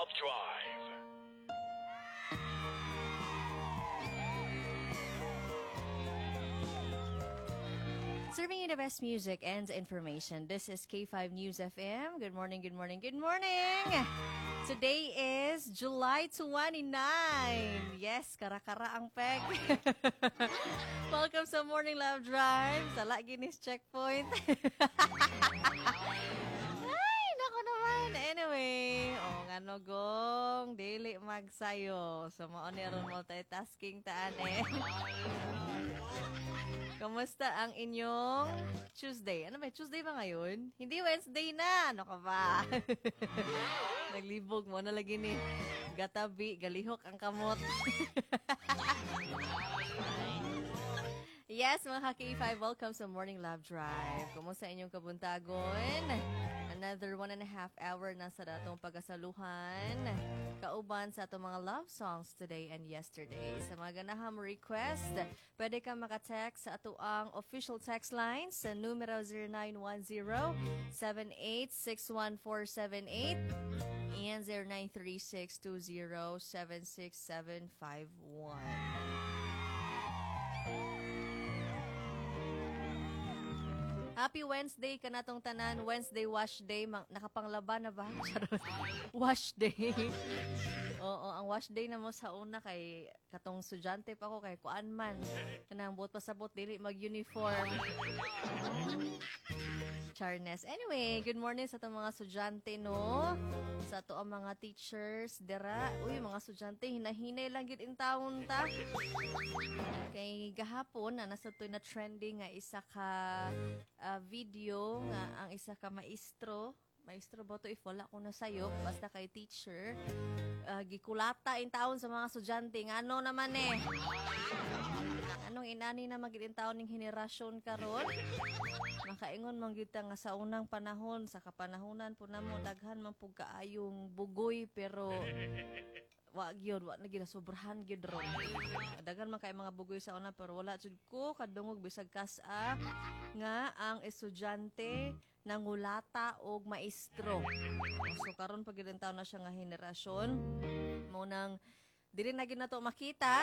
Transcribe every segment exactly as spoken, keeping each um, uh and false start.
Love Drive. Serving you the best music and information. This is K five News F M. Good morning, good morning, good morning. Today is July twenty-nine. Yes, kara-kara ang peg. Welcome sa Morning Love Drive. Sa Guinness Checkpoint. Ay, nako naman. Anyway, oh, ngano gong, dili magsayo. So, mao ni aron multitasking taan eh. Kamusta ang inyong Tuesday? Ano ba? Tuesday ba ngayon? Hindi, Wednesday na. Ano ka ba? Naglibog mo na lagi ni. Gatabi, galihok ang kamot. Yes, mga ka-K five, welcome sa Morning Love Drive. Kumusta inyong kabuntagon? Another one and a half hour na sa datong pagasaluhan. Kauban sa atong mga love songs today and yesterday. Sa mga ganahang request, pwede ka makatext sa atoang official text line sa numero zero nine one zero, seven eight six one four seven eight and zero nine three six two zero seven six seven five one. Happy Wednesday kanatong tanan. Wednesday wash day. Mang, nakapanglaban na ba? Charot. Wash day. Oo, ang wash day na mo sa una kay katong estudyante pa ko kay kuan man. Kanang buot pasabot dili mag-uniform. Charnes. Anyway, good morning sa atong mga estudyante, no? Sa ato ang mga teachers dira. Uy, mga estudyante, hinahinay lang gid in taon ta. Kay gahapon na nasa to na trending nga isa ka ah, video nga ang isa ka maestro, maestro ba to if wala ko na sayo, basta kay teacher, ah, gikulata in taon sa mga estudyante. Ngano naman eh? Anong inani na magid in taon ning henerasyon karon? Makaingon man gyud ta nga sa unang panahon, sa kapanahonan po namo, daghan man pug kaayong bugoy, pero wa gyud, wa na gyud, sobrahan gyud ron. Daghan man kay mga bugoy sa una, pero wala jud ko kadungog bisag kas-a nga ang estudyante nangulata og maestro. So karon pag gyud na siya nga henerasyon mo nang dili na gyud nato makita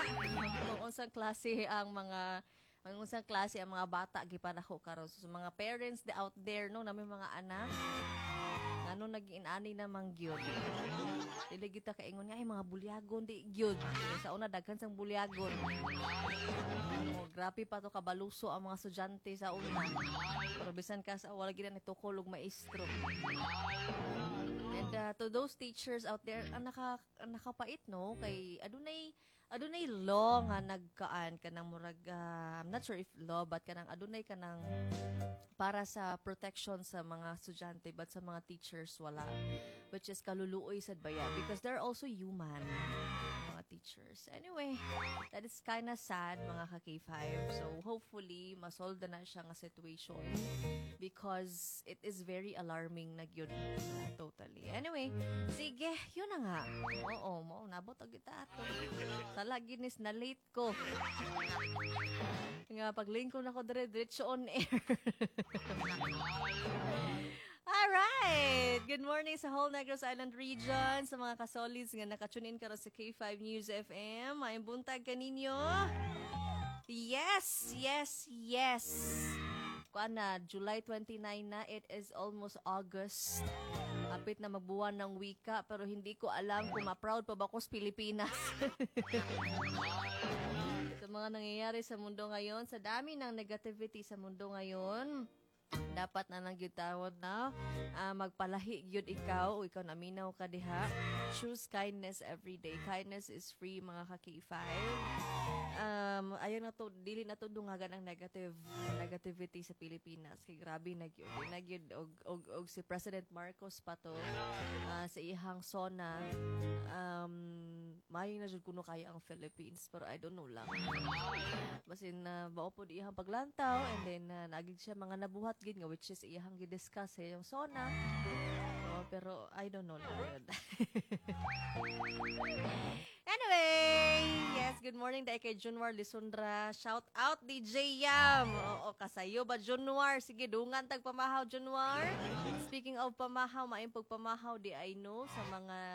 kung unsang klase ang mga ang unsang klase ang mga bata gipadako karon. So, sa mga parents the out there, no, nami mga anak, ngano nag-inani na man gyud? Dili kita kaingon nga ay mga bulyagon, di gyud. Sa una daghan sang bulyagon. Oh, grabe pa to kabaluso ang mga estudyante sa una. Pero bisan ka sa wala gid na nitukol og maestro. And uh, to those teachers out there, ang naka ang nakapait, no, kay adunay adunay law nga nagkaan kanang murag, uh, I'm not sure if law, but kanang adunay kanang para sa protection sa mga estudyante, but sa mga teachers wala, which is kaluluoy sad baya, because they're also human, mga teachers. Anyway, that is kinda sad, mga ka K five. So hopefully masolve na siya nga situation because it is very alarming na gyud totally. Anyway, sige, yun na nga. Oo, mo nabot og kita ato. Sala ginis na late ko. Nga paglingkod nako dire, diretso on air. Alright! Good morning sa whole Negros Island region, sa mga kasolids nga nakatune in karon sa K five News F M. Maayong buntag kaninyo. Yes, yes, yes. Kuan na, July twenty-nine na, it is almost August. Kapit na magbuwan ng wika, pero hindi ko alam kung ma-proud pa ba ko sa Pilipinas sa mga nangyayari sa mundo ngayon, sa dami ng negativity sa mundo ngayon. Dapat na lang gyud tawod na ah, magpalahi gyud ikaw o ikaw naminaw ka diha. Choose kindness every day. Kindness is free, mga ka K five. Um, ayaw na to, dili na to dungagan ang negative negativity sa Pilipinas. Kay grabe na gyud. Na gyud og, og, og si President Marcos pa to, ah, sa iyang SONA, um, maayo na jud kuno kaya ang Philippines, pero I don't know lang. Basin na uh, bao pod iyang paglantaw and then uh, nagig siya mga nabuhat gid nga which is iyang gi-discuss sa iyang SONA. Oh, pero I don't know lang yun. Anyway, yes, good morning dahil kay Junwar Lisundra. Shout out D J Yam. Oo, kasayo ba, Junwar? Sige, dungan tag pamahaw, Junwar. Speaking of pamahaw, maayong pagpamahaw di I know sa mga